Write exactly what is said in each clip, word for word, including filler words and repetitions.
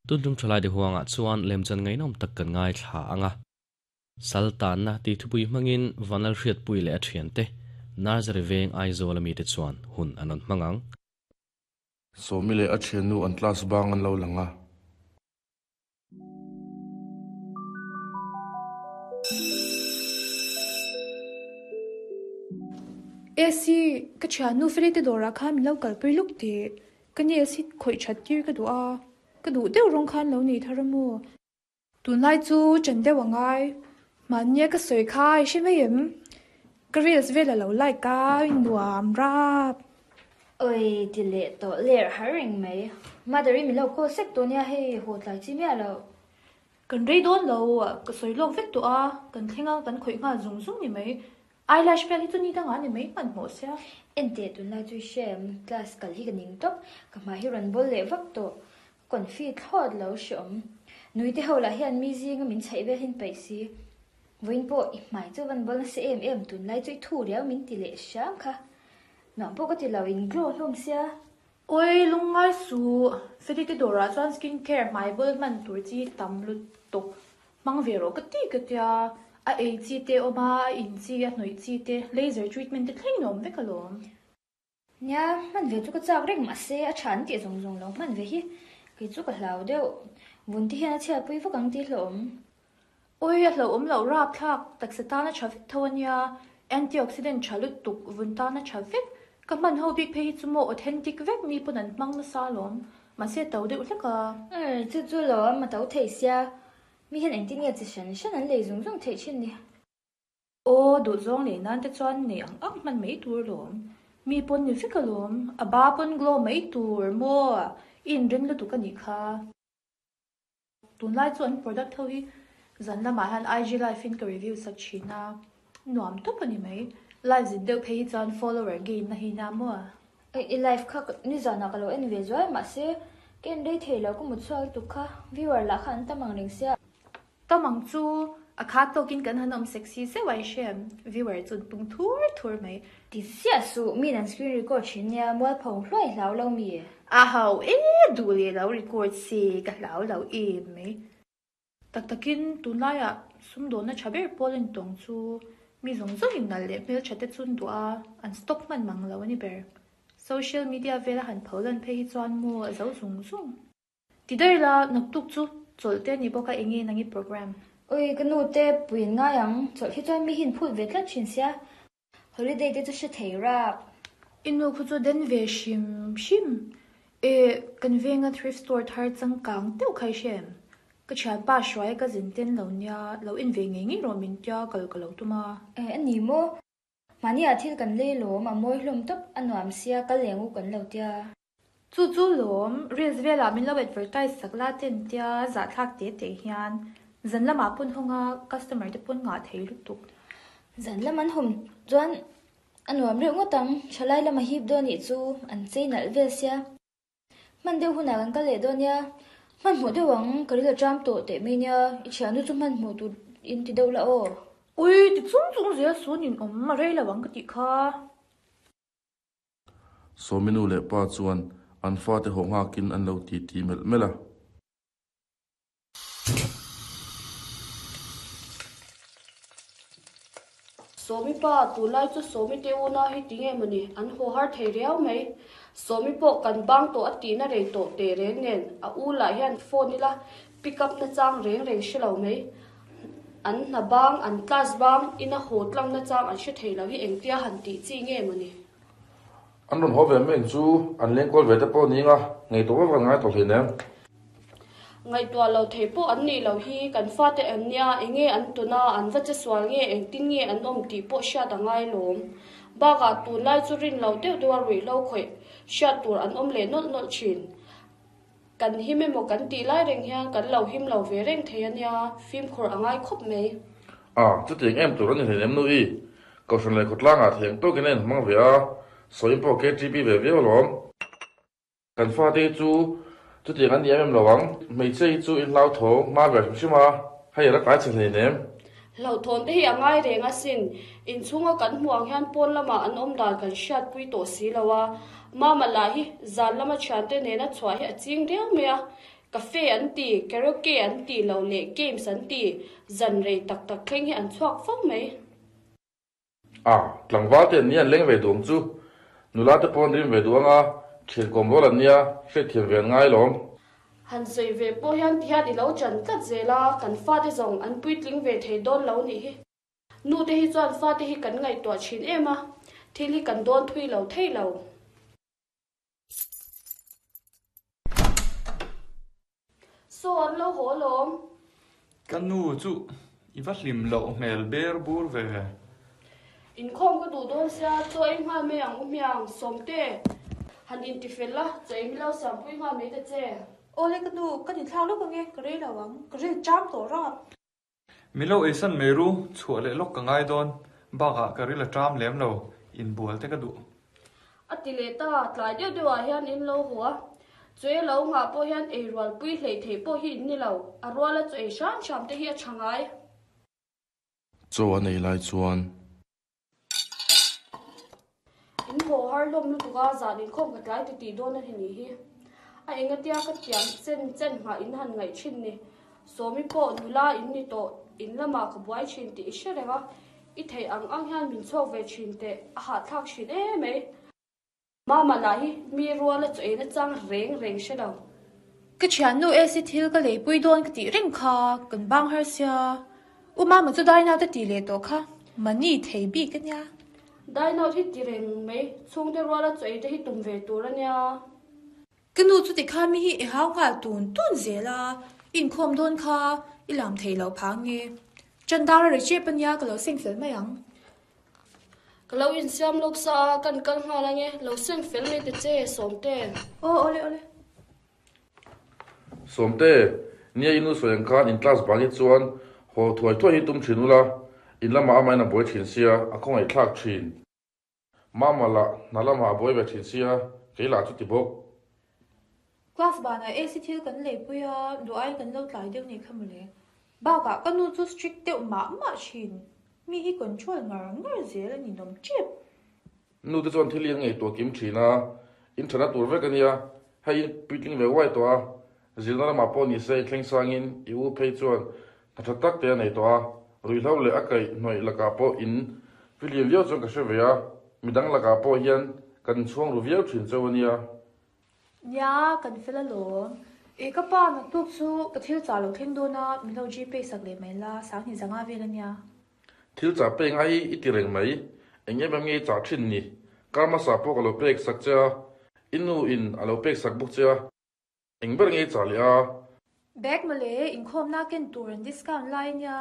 Tun tum thalai de huanga chuan lemchan ngainom tak kan ngai thla anga. Saltan na ti thupui hmangin vanal hriat pui leh a thian te Nursery veng Aizawl ami te chuan hun anon hmangang. Sawmi leh a thian nu an class bang an lo langa. A C ka thian nu feli te dawrah khan min lo kalpui luk tih ka ni A C khawih that tir ka duh a ka duh deuh rawng khan lo nei thar a maw. Tunlai chu chen deuh a ngai mahnia ka sawi kha i hre mai em ka reels vel a lo like a nuam rap. Oi ti leh tawh ler har reng mai mother i min lo call sek tawh nia hei haw tlai chi miah lo. Kan rei dawn lo ka sawi lawk vek tawh a kan thleng a kan khawih nghal zung zung ni mai eyelash vel hi chu ni dangah ni mai hman hmawh sia. Ente tunlai chu i hre em class kal hi ka ning tawp ka hmai hi rawn bawl leh vak tawh confi thlawt lo hre awm nui te ho lah hian mi zinga min chhaih vel hin paih si vawiin pawh i hmai chu van bawl nasa em em tunlai chu i thu riau min ti leh hram kha nuam pawh ka ti lo in glow hlawm sia. Oi lungngai su feli te dawrah chuan skin care hmai bawl hman tur chi tam lutuk hmang ve rawh ka ti ka tia a ei chi te awm a a in chi a hnawih chi te laser treatment te thleng in awm vek alawm. Nia hman ve chu ka chak reng mahse a tha an tih zawng zawng lo hman ve hi kei chu ka hlau deuh vun te hian a chhiat pui vak ang tih hlawm. Oi a hlauhawm loh rap thlak taksa tan a tha vek tho ania antioxidant tha lutuk vun tan a tha vek ka hman ho bik phei hi chu maw authentic vek mi pawn an hmang nasa alawm mahse to deuh hlek a. Oi chu chu lawm a to thei sia mi hian engtin nge chi hran hran an lei zung zung theih thin ni. Aw duh zawng lei nan te chuan nei ang ang hman mai tur lawm mi pawn ni vek alawm a ba pawn glow mai tur maw i inring lutuk anih kha. Tunlai chu an product ho hi zan lamah hian I G live in ka review sak thin a nuam tawp ani mai live zin deuh phei hi chuan follower gain na hi nia maw. Oi i live kha ni zanah ka lo en ve zuai mahse ka en rei thei lo ka mut chhuak lutuk kha viewer lah kha an tam ang reng sia. Tam ang chu a kha tawkin kan han awm sexy zeuh a i hre viewer chu an pung thur thur mai. Ti ziah su min an screen record thin nia mual pho hluai hlau lo mi. A ho e duh leh lo record se ka hlau lo em mai. Tak takin tunlaiah sumdawhna tha ber pawl an tawng chu mi zawng zawng in nalh leh hmel tha te chun duh a an stock hman mang lo ani ber. Social media vela han pho lan phei hi chuan maw a zo zung zung. Ti daih la naktuk chu chawlh te ni bawk a enge nangi program. Oi ka nu te puiin ngai ang chawlh hi chuan mi hin phut ve tlat thin sia holiday te chu hre thei rap. I nu khu chu den ve hrim hrim e kan venga thrift store thar changkang deuh kha i hre em ka thian pa hruai ka zin ten lo nia lo in ve ngei ngei rawh min tia kal ka lo tum a. E ani maw mahni ah thil kan lei lawm a mawi hlawm tawp a nuam sia kal leng u kan lo tia. Chu chu lawm reels velah min lo advertise sak la ten tia zah thlak te te hian zan lamah pawn hawnga customer te pawn ngah thei lutuk. Zan lam an hawm chuan a nuam reuh ngawt ang thalai lama hip dawn nih chu an chei nalh vel sia. Hman deuh hunah kan kal leh dawn nia hman hmuh deuh ang ka ril a tram tawh teh mai nia i thian nu chu hman hmuh tur in ti deuh la aw. Ui ti chung chung zel sun in awm a rei lo ang ka tih kha. Sawmi nu leh pa chuan an fa te haw nghakin an lo ti ti melh melh a. Sawmi pa tunlai chu sawmi te u na hi ti nge mawni an haw har thei riau mai. Sawmi pawh kan bang tawh a tihna rei tawh te reng nen a u lah hian phone ila pick up na chang reng reng hre lo mai. An hna bang an class bang ina haw tlang na chang an hre thei lo hi engtia han tih chi nge mawni. An rawn haw ve mai ang chu an leng kual ve te pawh ni anga ngaihtuah vak an ngai tawh hleinem. Ngaihtuah lo thei pawh an nih loh hi kan fate an nia enge an tuna an va che sual nge engtin nge an awm tih pawh hriat a ngai lawm. Bakah tunlai chu rin lo deuh deuh a ruih lo khawih hriat tur an awm leh nawlh nawlh thin. Kan him emaw kan tih lai reng hian kan lo him lo ve reng thei ania fimkhur a ngai khawp mai. A chutiang em tur ani hleinem nu i kohhran leh khawtlangah thei ang tawkin a inhmang ve a sawiin pawh K T P ve viau alawm. Kan fate hi chu chutiang an ni em em lo ang hmeichhia hi chu in hlau tho hma ve hrim hrim a hei a la tlai chhe hleinem. Hlauhthawn te hi a ngai reng asin inchhunga kan hmuh ang hian pawn lamah an awm dan kan hriat pui tawh si lo a mama lah hi zan lama thian te nena chhuah hi a ching riau mai a Cafe an ti, karaoke an ti lo leh games an ti, zan rei tak tak thleng hi an chhuak fo mai. A, tlangval te an nia an leng ve duh ang chu. Nula te pawh an rim ve duh ang a, thian kawm rual an nia, hriatthiam ve an ngai lawm. Han sawi ve pawh hian tihian i lo chan tlat zel a, kan fate zawng an puitling ve thei dawn lo nih hi. Nu te hi chuan fate hi kan ngaihtuah thin em a, thil hi kan dawn thui lo thei lo. Saw an lo haw alawm. Ka nu chu i va hlim loh hmel ber bur ve. Inkhawm ka duh dawn sia, chaw ei nghal mai ang u hmiang, Sawmte. Han intifel la, chaw ei milo siampui nghal mai ta che. Awle ka nu, ka nithlak lawk ange, ka rei lo ang, ka ril cham tawh rap. Milo eisan mai ru, chhuah leh lawk ka ngai dawn, bakah ka ril a ṭam lem lo, inbual te ka duh. A ti leh ta, tlai deuh deuhah hian in lo haw a, chaw ei lo nghah pawh hian ei rualpui hleih theih pawh hi in ni lo, a ruala chaw ei hram hram te hi a ṭha ngai. Chaw an ei lai chuan. In haw har hlawm lutuk a, zan inkhawm ka tlai ti tih dawn a ni hi. A engatia ka tiam chen chen nghah in han ngaih thin ni. Sawmi pawh nula in ni tawh, in lamah ka buai thin tih i hre reng a, i theih ang ang hian min chhuak ve thin teh, a hahthlak thin em mai. Mama lah hi mi ruala chaw eina chang reng reng hre lo. Ka thiannu Esi thil ka leipui dawn ka tih reng kha, kan bang har sia. U Mama chu dine out a tih leh tawh kha, money thei bik a nia. Dine out hi ti reng mai, chhungte ruala chaw ei te hi tum ve tur a nia. Ka nu chu tikhan mi hi i hau nghal tun tun zel a, i inkhawm dawn kha i lam thei lo phang nge. Chandar a ri chep a nia, ka lo seng fel mai ang. Ka lo insiam lawk sa a, kan kal nghal ange, lo seng fel mai ta che, Sawmte. Aw, awle, awle. Sawmte, nia i nu sawi ang khan in class bang hi chuan haw thuai thuai hi tum thin ula, in lamah amahin a buai thin sia, a khawngaih thlak thin. Mama lah hna lamah a buai ve thin sia, kei lah chu ti bawk. Class banah A C thil kan leipui a, duh aiin kan lo tlai deuh nih kha mawle. Bakah ka nu chu strict deuh mah mah thin. Mi hi control ngar ngar zel a ni nawm tep. Nu te chuan thil hi an ngaihtuah kim thin a, in thana tur vek a nia, hei in puitling ve uai tawh a, zirna lamah pawh ni se i thleng sangin i u phei chuan hna tha tak te a nei tawh a, ruihhlo leh a kaih hnawih lakah pawh in fihlim viau chuan ka hre ve a, midang lakah pawh hian kan chhuang ru viau thin cheu a nia. Nia, kan fel alawm. E ka pa, naktuk chu ka thil chah lo thleng dawn a, min lo Gpay sak leh mai la, sanghnih zanga vel a nia. Thil chah pek ngai hi i ti reng mai, eng em em nge i chah thin ni? Kar hmasa pawh ka lo pek sak che a, i nu in a lo pek sak bawk che a, eng ber nge i chah leh a? Bag mawle, inkhawmna ken tur an discount lai a nia.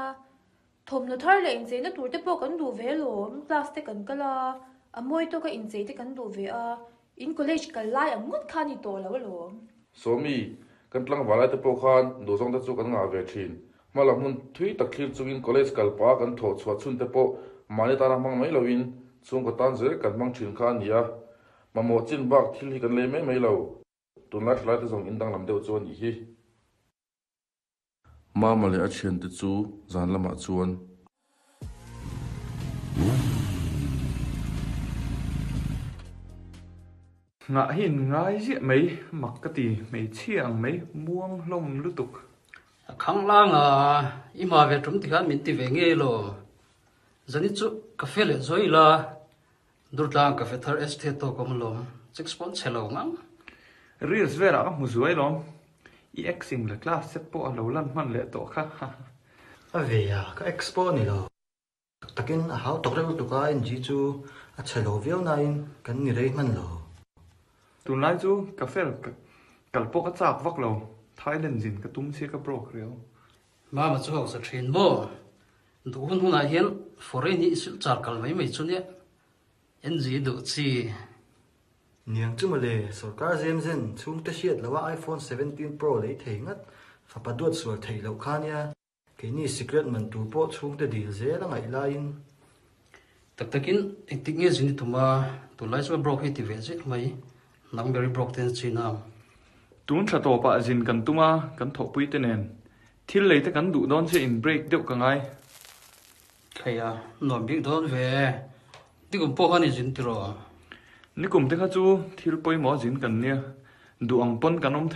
Thawmhnaw thar leh incheina tur te pawh kan duh ve alawm, class te kan kal a, a mawi tawka inchei te kan duh ve a, In college kal lai ang ngawt kha a ni tawh lo alawm. Sawmi, kan tlangval lai te pawh khan duhzawng te chu kan ngah ve thin. Hma lam hmun thui tak thlir chungin college kal pah kan thawh chhuah chhun te pawh mahni tana hmang mai loin chhungkaw tan zel kan hmang thin kha a ni a. Mamawh chin bak thil hi kan lei mai mai lo. Tunlai thalai te zawng indanglam deuh chu a nih hi. Mama leh a thiante chu zan lamah chuan. Nghah hi in ngai ziah mai, mak ka ti, hmeichhia ang mai, muang hlawm lutuk. A khang lang a, i hma ve tum tikhan min ti ve ngei lo. Zani chu ka fe leh zawi ila, Durtlang ka fe thar estate tawk awm alawm, chicks pawn chhe lo ngang. Reels velah ka hmu zuai lawm. I ex in la class set pawh a lo lan hman leh tawh kha. A ve a, ka ex pawh a ni lo. Tak takin a hau tawk reuh lutuk a, N G chu a chhe lo viau nain kan ni rei hman lo. Tunlai chu ka fel kal pawh ka chak vak lo, Thailand zin ka tum sia ka broke riau. Mama chu hausa thin maw? Duh hun hunah hian foreign hi i silh char kal mai mai chu nia. N G duh chi. Niang chu mawle, sorkar zem zen chhungte hriat loha iPhone seventeen Pro lei thei ngat, fapa duat sual theih loh kha nia. Keini secret man tur pawh chhungte dil zel a ngaih laiin. Tak takin engtik nge zin i tum a, tunlai chuan broke hi ti ve zel mai, nang ber i broke ten chin ang. Tun thla tawpah zin kan tum a, kan thawhpui te nen. Thil lei te kan duh dawn che in break deuh ka ngai. Thei a, nuam bik dawn ve. Nikum pawh khan i zin tiraw? Nikum te kha chu thil pawimawh zin kan nia, duh ang pawn kan awm thei.